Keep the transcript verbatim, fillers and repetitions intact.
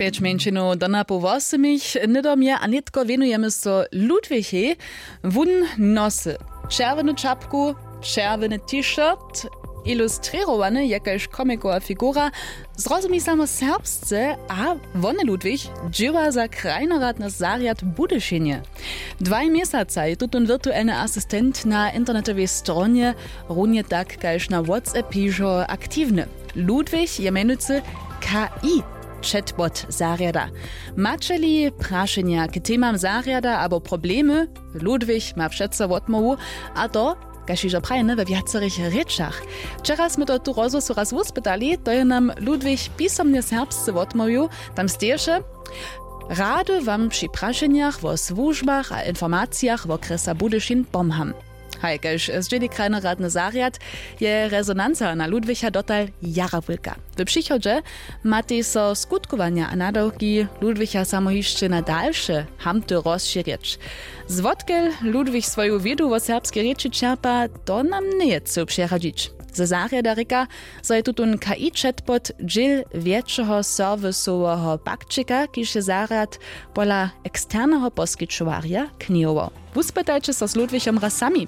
Pjeć mjeńšinow do napoł wosomich, hnydom je a nětko wěnujemy so Ludwichej. Wón nosy čerwjenu čapku, čerwjeny t-shirt, ilustrěrowany je kaž komikowa figura. Zrozumi samo serbsce a wony ludwich dźěła za krajnoradny zarjad w budyšinje. Dwaj měsaca je tutón wirtuelny asistent na internetowej stronje, runje tak kaž na whatsapp hižo aktiwny. Ludwig je mjenujcy k i chatbot zarjada. Maće-li prašenja k temam zarjada abo problemy, ludwig ma přeco wotmołwu, a to kaž hižo prajene we wjacerych rěčach. Wčera smy to tu rozhłosu raz wuspytali, to je nam ludwig pisomnje serbsce wotmołwił. Tam steješe: rady wam při prašenjach wo słužbach a informacijach wokrjesa budyšin pomham. Haj, kaž zdźěli krajnoradny zarjad, je rezonanca na ludwicha dotal jara wulka. W přichodźe matej so skutkowanja a nadawki ludwicha samo hišće na dalše hamty rozšěrjeć. Zwotkel ludwich swoju wědu wo serbskej rěči čerpa, to nam njeje chcył přeradźić. Ze zarjada rěka, zo je tutón k i chatbot dźěl wjetšeho serwisoweho pakćika, kiž je zarjad pola eksterneho poskićowarja knihował. Wuspytajće so z ludwichom raz sami.